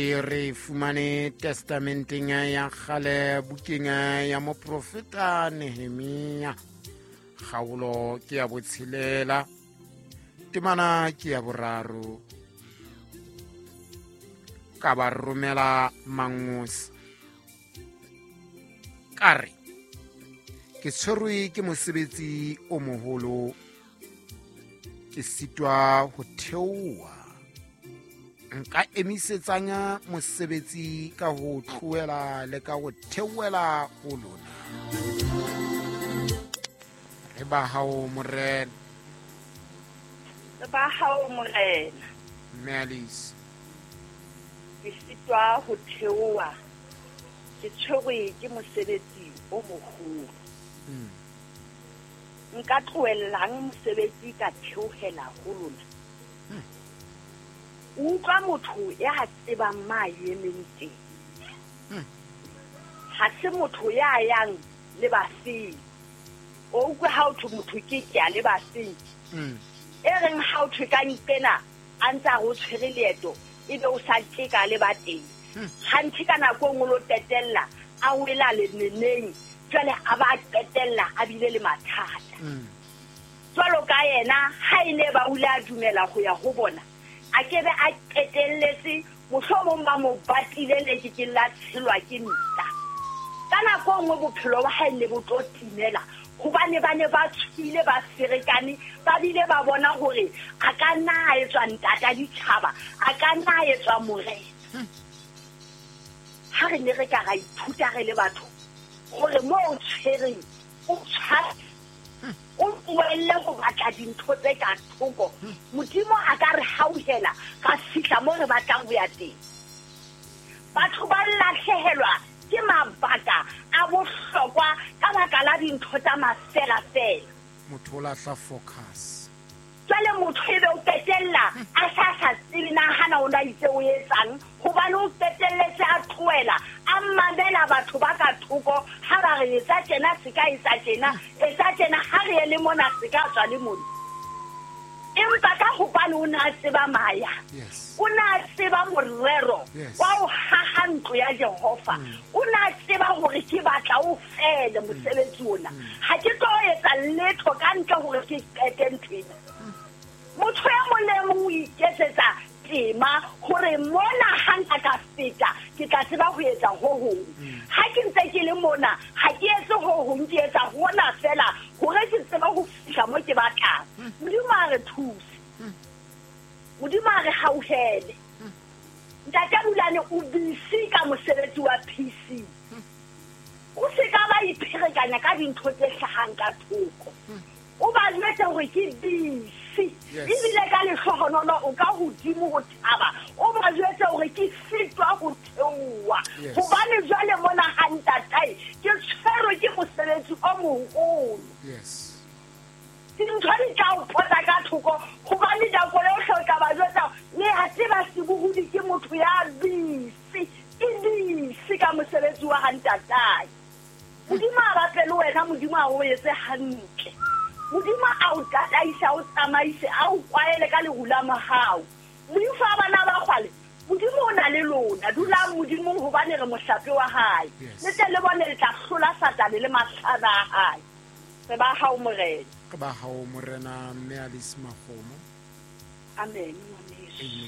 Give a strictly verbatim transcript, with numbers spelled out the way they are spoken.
Re e fumane testamenteng ya kgale, bukeng ya moprofeta Nehemia, kgaolo ke ya botshelela, temana ke ya boraro. Ka ba romela mangosi, ka re ke tshwerwe ke mosebetsi o moholo, ke sitwa ho theoha. Nka emisetsang mosebetsi ka ho tlohela le ka ho theohela ho lona. Re ba hao, Morena. Re ba hao, Morena. Mme Alice. Ke sitwa ho theoha, ke tshwerwe ke mosebetsi o moholo. Mm. Nka tlohellang mosebetsi ka theohela ho lona? Hmm. O utlwa motho ya tsebang ma emeng teng. Hmm. Ha se motho ya yang le bafeng. O utlwe ha o thwe motho ke ke a le bafeng. Mm. E reng ha o thwe ka nqena a ntse a re o tshwere leeto, ebe o sa tjeka le ba teng. Hmm. Hanthe ka nako e nngwe o lo qetella a wela leneneng, jwale a ba qetella a bile le mathata. Mm. Jwalo ka yena, ha e ne ba o ile a dumela ho ya ho bona, a ke be a qetelletse mohlomong ba mo batile le ke ke la tshelwa ke nta. Ka nako e nngwe bophelo ba hae ne bo tlo timela, hobane ba ne ba tshohile, ba ferekane, ba bile ba bona hore a ka nna a etswa ntata ditjhaba, a ka nna a etswa morena. Ha re ne re ka ra ithuta re le batho hore moo o tshwereng o tshware, o tlohelle ho batla dintho tse ka thoko, Modimo a ka re hauhela ra fihla moo re batlang ho ya teng. Batho ba lahlehelwa ke mabaka a bohlokwa ka baka la dintho tsa mafelafela. Motho o lahla focus. Jwale motho ebe o qetella a sa sa tsebe na hana o na itse o etsang, hobane o qetelletse a tlohela a mamela batho ba ka thoko ha ba re etsa tjena, se ka etsa tjena, etsa tjena, ha re ye le mona, se ka tswa le mona. Empa ka hobane o ne a tseba maya, Yes. o ne a tseba morero Yes. wa ho haha ntlo ya Jehova, Mm. o ne a tseba hore ke batla o fele mosebetsi ona. Ha ke tlo etsa letho ka ntle hore ke qete ntho ena. Motho e mong le e mong o iketsetsa tema hore mona ha nka ka feta ke tla tseba ho etsa ho hong. Ha ke ntse ke le mona ha ke etse ho hong, ke etsa hona fela hore ke tsebe ho fihla mo ke batlang. Modimo a re thuse, Modimo a re hauhele. Ntate Bulane o busy ka mosebetsi wa P C. O se ka ba ipherekanya ka dintho tse hlahang ka thoko. O ba jwetse hore ke busy. Yes. Ebile ka lehlohonolo o ka hodimo ho thaba. O ba jwetse hore ke sitwa ho theoha. Yes. Hobane jwale mona ha ntatae ke tshwerwe ke mosebetsi o moholo. Yes. Dintho di tla o pota ka thoko, hobane nako yohle o tla ba jwetsa, le a tseba sebohodi ke motho ya busy, ke busy ka mosebetsi wa ha ntatae. Modimo a batle le wena, Modimo a o etse hantle. Modimo a o tataise, a o tsamaise, a o kwaele ka leru la mohau. Moifo wa bana ba kgwale, Modimo o na le lona. Dulang Modimong hobane re mohlape wa hae. Yes. Le tle le bone le tla hlola Satane le mahlaba a hae. Re ba hao, Morena. Re ba hao, Morena. Mme Alice Makgomo. Amen, ngwaneso. Amen.